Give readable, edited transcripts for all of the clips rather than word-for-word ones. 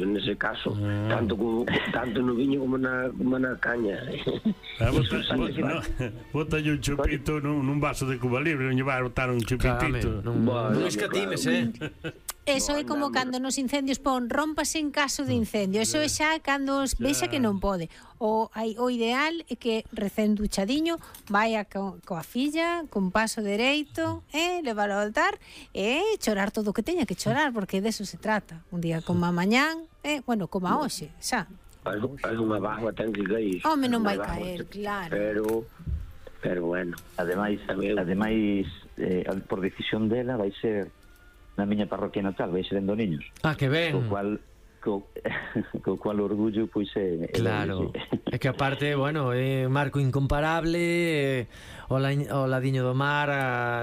nese caso, tanto no viño como na caña. Bótalle un chupito nun vaso de Cuba Libre, non lle vai a botar un chupitito. Non escatimes, Eso é como cando nos incendios pon rómpase en caso de incendio. Eso é xa cando vexa que non pode. O ideal é que recén duchadiño vai coa filla, con paso dereito, levar ao altar e chorar todo o que teña que chorar, porque deso se trata. Un día como a mañán, bueno, como a hoxe, xa. Unha bagua ten que cair. Home, non vai caer, claro. Pero bueno. Ademais, por decisión dela vai ser na miña parroquia natal, vai ser en Doniños. Que ben. Co cual orgullo pois é claro, é que aparte, bueno, é marco incomparable, o ladiño do mar,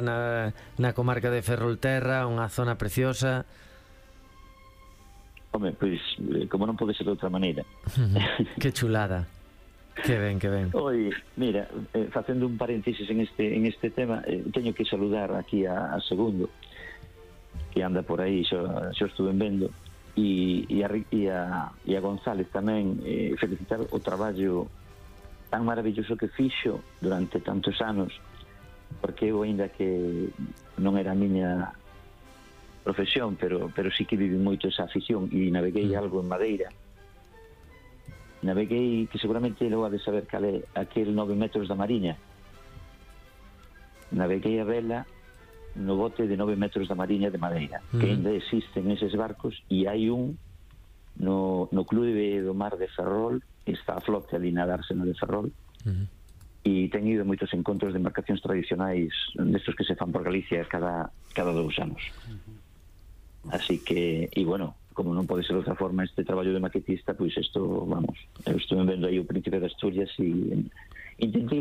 na comarca de Ferrolterra, unha zona preciosa. Home, pois como non pode ser de outra maneira. Que chulada. Que ben. Oi, mira, facendo un paréntesis en este tema, teño que saludar aquí a Segundo, que anda por aí, xa estuve vendo, e a González tamén, felicitar o traballo tan maravilloso que fixo durante tantos anos, porque eu, aínda que non era a miña profesión, pero sí que vivi moito esa afición, e naveguei algo en Madeira. Naveguei, que seguramente logo ha de saber cal é, aquel 9 metros da Mariña. Naveguei a vela no bote de 9 metros da Mariña de Madeira, que ainda existen eses barcos, e hai un no Clube do Mar de Ferrol, que está a flote ali na dársena de Ferrol, e ten ido moitos encontros de embarcacións tradicionais destos que se fan por Galicia cada 2 anos. Así que, e bueno, como non pode ser de outra forma este traballo de maquetista, pois isto, vamos, eu estuve vendo aí o Príncipe de Asturias e intentei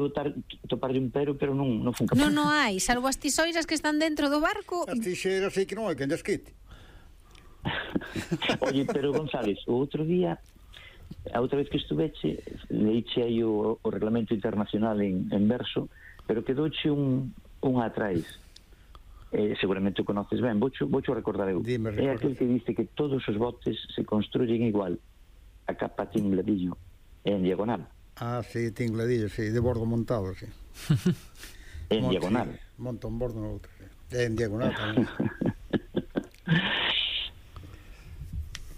toparlle un pero non fun capaz. Non hai, salvo as tisoiras que están dentro do barco. As tixeiras sei que non hai quen lles quite. Oye, pero González, o outro día, a outra vez que estuveche, leiche aí o reglamento internacional en verso, pero quedouche un atrás. Seguramente o conoces ben, voucho recordar eu. É aquel que dice que todos os botes se construyen igual, a capa tingladillo e en diagonal. Sí, tingladillo, sí, de bordo montado, sí. En diagonal. Sí, monta un bordo no outro, sí. En diagonal tamén.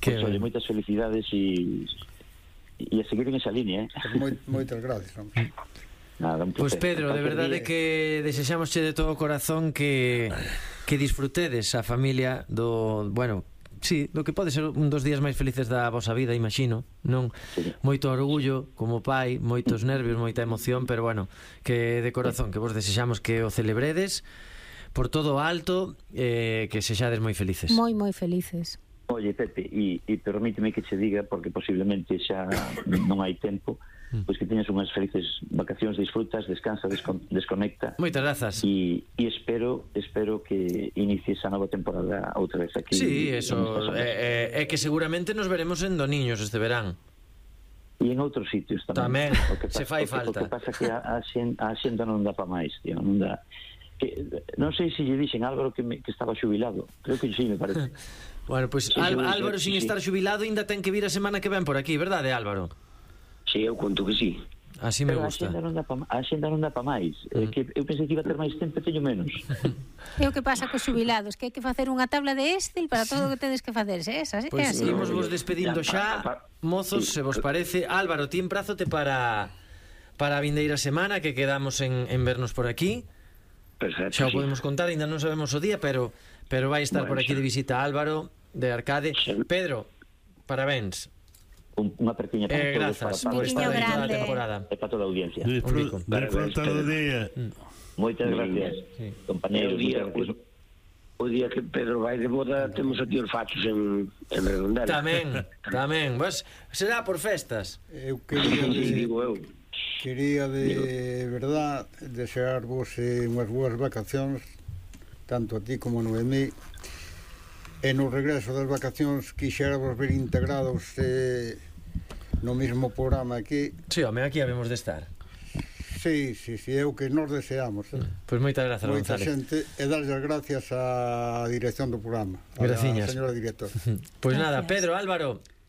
Pues, oye, moitas felicidades e a seguir en esa línea, Moitas gracias, hombre. Nada, Pois Pedro, de verdade que desexamosche de todo o corazón que disfrutedes a familia do, bueno, sí, do que pode ser un dos días máis felices da vosa vida, imagino, non? Sí. Moito orgullo como pai, moitos nervios, moita emoción, pero bueno, que de corazón, que vos desexamos que o celebredes por todo alto, que sexades moi felices. Moi felices. Oye, Pepe, e permíteme que che diga, porque posiblemente xa non hai tempo, pois que teñas unhas felices vacacións, disfrutas, descansa, desconecta. Moitas grazas. E espero que inicies a nova temporada outra vez aquí. Sí, eso, é que seguramente nos veremos en Doniños este verán. E en outros sitios tamén. Se fai falta. O que pasa que a xenda non dá pa máis, tío, non dá. Non sei se lle dixen Álvaro que estaba xubilado. Creo que sí, me parece. Bueno, pois Álvaro, sin estar xubilado, ainda ten que vir a semana que ven por aquí, verdade, Álvaro? Sí, eu conto que sí. Así me gusta. A xenda non dá pa máis. Que eu pensei que iba a ter máis tempo e teño menos. É o que pasa cos xubilados, que hai que facer unha tabla de Excel para todo o que tedes que facer. Pois imos vos despedindo xa, mozos, se vos parece. Álvaro, ti emprazote para a vindeira semana, que quedamos en vernos por aquí. Perfecto, xa o podemos contar, ainda non sabemos o día, pero vai estar por aquí de visita Álvaro de Arcade. Pedro, parabéns. Unha pequena grazas por estar aí toda a temporada e para toda a audiencia. Disfruta do día. Moitas gracias, compañeros. O día que Pedro vai de boda temos aquí os fachos en Redondela. Tamén, pues, será por festas. Eu quería de verdad desearvos unhas boas vacacións, tanto a ti como a Noemí. E no regreso das vacacións quixéramos ver integrados no mesmo programa aquí. Sí, home, aquí habemos de estar. Sí, é o que nos deseamos. Pois moitas grazas, González. Moita xente, e darlle as gracias á dirección do programa, Graciñas. A señora directora. Pois nada, Pedro, Álvaro,